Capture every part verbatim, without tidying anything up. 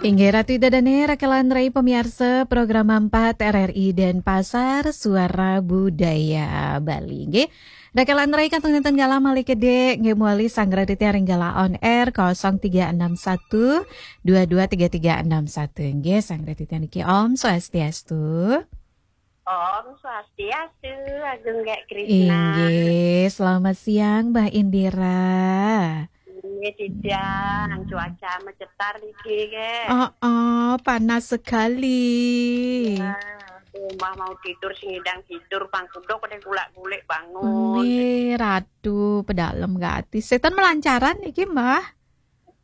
Inggih Ratu Ida Dane, rakelan rai pamiarsa program empat R R I Denpasar, Suara Budaya Bali. Inggih. Rakelan rai kantun nenten galah malih kedek, inggih mawali sanggra titiang ring galah on air kosong tiga enam satu dua dua tiga tiga enam satu. Inggih, sanggra titiang niki Om Swastiastu. Om Swastiastu, Agung Gek Krishna. Inggih, selamat siang, Mbah Indira. Inggih, siang. Cuaca macetar niki, Gek. Oh, oh, panas sekali. Ya, aduh, Mbah mau tidur, sing ngidang tidur, pang kuduk, udah gulak-gulik bangun. Nggih, Ratu, pedalem gati. Setan melancaran niki, Mbah?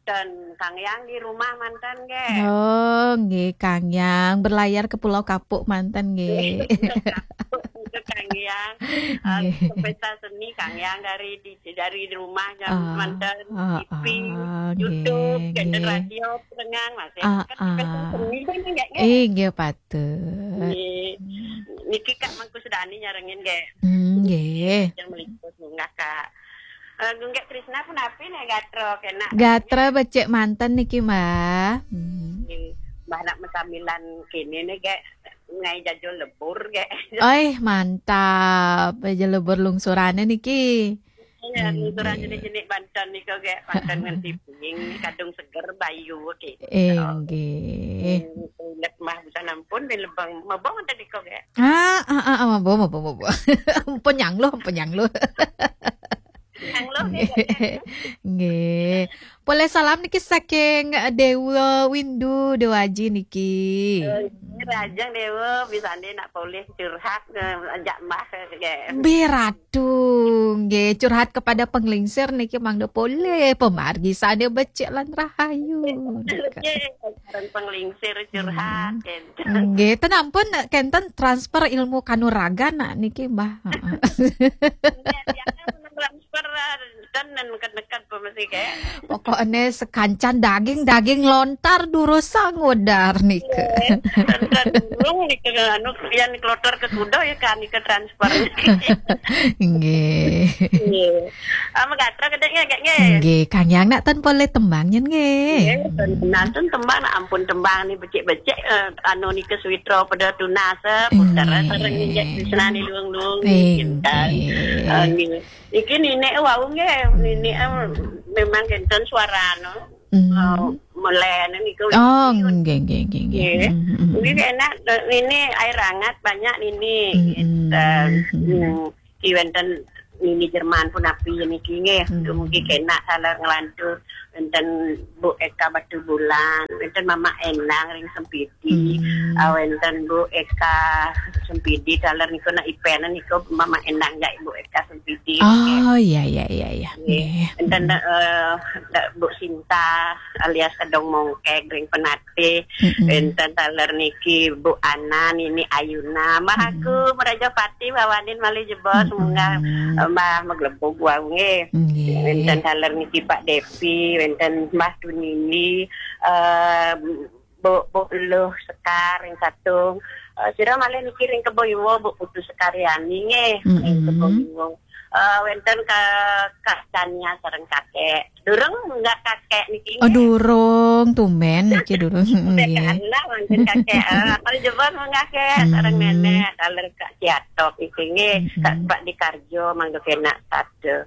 Dan Kang Yang di rumah mantan, Gek. Oh, nggih, Kang Yang berlayar ke Pulau Kapuk mantan, nggih. Itu Kang Yang, eh, Nggih. Pesta seni Kang Yang dari di, dari rumah jam Ah, mantan ah, T V, ah, YouTube, nggih, channel nggih. Radio, pendengar masih. Ah, Kan pesta ah. Seni kan, Gek, Gek? Eh, nggih, patut. Nggih. Niki Kak Mangku Sudani nyarengin, Gek. Hmm, nggih. Yang meliput bunga, Kak. Eh, Gung Gek Krishna punapi nih gatra kena. Gatra becik manten niki, Mbah. Hmm. Nggih. Mbah nak mesamilan kene nih, Gek, ngai jajul lebur, Gek. Oi, mantap. Jajul lebur lungsurane niki. Ya, lungsuran Nggih. Jenik-jenik banten nika, Gek. Banten nganti ping, kadung seger, bayu, oke. Inggih. Hmm, ingat Mbah busan ampun, bin lebang mabong ada nika, Gek. Ah, ah, ah, ah, mabong, mabong, mabong. Penyang loh, penyang loh. Penyang loh, Gek. Nggih. Polih salam niki saking, eh, Dewa Windu, Dewa Aji niki. Eh, Rajang Dewa, bisane nak polih curhat, eh, ajak Mbah, Gek. Nggih, Ratu, nggih, curhat kepada penglingsir niki mangda polih, pamargi sane becik lan rahayu. Nggih, kenten penglingsir curhat, Hmm. kenten. Nggih, ten ampun, kenten transfer ilmu kanuragan nak niki, Mbah. Heeh. Nggih, biasa transfer, ah, ten neken-neken apa mesti, Gek. Pokokne sekancan daging, daging lontar durus sangudar nika. Nggih, ten, ten durung nika, anu, yang kloter ke kuda ya kan nika transfer. Nggih. Nggih. Ah, magatra kedeknya, Gek, nggih. Nggih, Kang Yang nak ten polih tembang nyen nggih. Nggih, ten, nantun tembang, nak ampun tembang nih becik-becik, eh, anu nika suwitra pada tunas, eh, putar, eh, Nggih. Sareng Gek Krishna nih luung-luung, Nggih, nggih, kinten. Nggih. Eh, nggih. Iki ninik wau nggih, ninik, eh, memang kenten suarane. Hmm. Eh, melene niku. Oh, nggih, nggih, nggih, nggih. Nggih. Hmm, hmm, hmm. Nggih, enak, eh, ini air hangat banyak nini. Hmm, hmm, Kinten. Hmm. Hmm. Ki wenten nini Jerman punapi niki nggih. Hmm. Dumugi kenak taler nglantur. Wenten Bu Eka Batubulan, wenten Mama Endang ring Sempidi. Hmm. Ah, wenten Bu Eka Sempidi, taler niku nak ipen niku Mama Endang jak Bu Eka Sempidi. Oh, iya, iya, iya, iya. Nggih. Nggih. Wenten, eh, Bu Sinta alias Kedong Mongkek ring Penatih. Mm-mm. Wenten taler niki Bu Ana, Nini Ayuna, Mbah Mm-mm. Agung, Raja Pati, Bawanin malih jebos, Mm-mm. Munggah, eh, Mbah maglebug wau nggih. Nggih. Wenten taler niki Pak Depi, wenten Mbah Tunini, eh, Bu, Bu Luh Sekar ring Satung. Eh, sira malih niki ring Kebo Iwa, Bu Putu Sekariani nggih, ring Mm-mm. Kebo Iwa. Eh, wenten ka Kak Tania sareng Kakek. Durung munggah Kakek niki Oh, nggih. Durung, tumben niki durung. Udah Nggih. Kalah mangkin Kakek. Eh, kalau jebos munggah Kek, sareng Mm-mm. Nenek, taler Kak Ciatok niki nggih. Mm-mm. Kak Pak Dikarjo mangga kenak sada.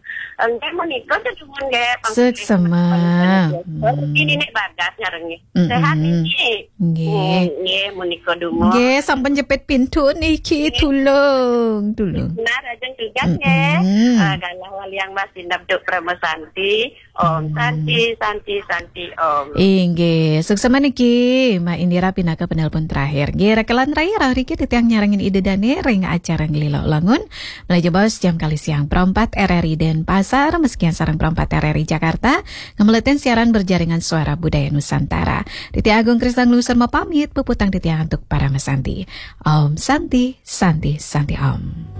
Nggih, menika sedumun nggih, panggilan Suksema. Panggilan. Hmm. Ini nek bagas nyarengin. Mm-mm. Sehat niki? Nggih. Hmm, nggih, menika dumun. Nggih, sampun jepit pintu niki, Nggih. Tulung, tulung. Benar, ajeng tugas nggih. Mm-mm. Ah, galah waliang Mas Dinab Duk Prama Santi. Om Hmm. Santi, Santi, Santi, Om. Inggih, suksema niki, Mbak Indira pinaka penelpon terakhir. Nggih, rakelan rai rauh riki titiang nyarengin Ida Dane ring acara Ngelila Langun. Malih jebos jam kalih siang Pro empat R R I Denpasar, masikian sareng Pro empat R R I Jakarta, ngemelutin siaran berjaringan Suara Budaya Nusantara. Titiang Agung Krisna nglungsur mapamit, puputang titiang antuk Parama Santi. Om Santi, Santi, Santi Om.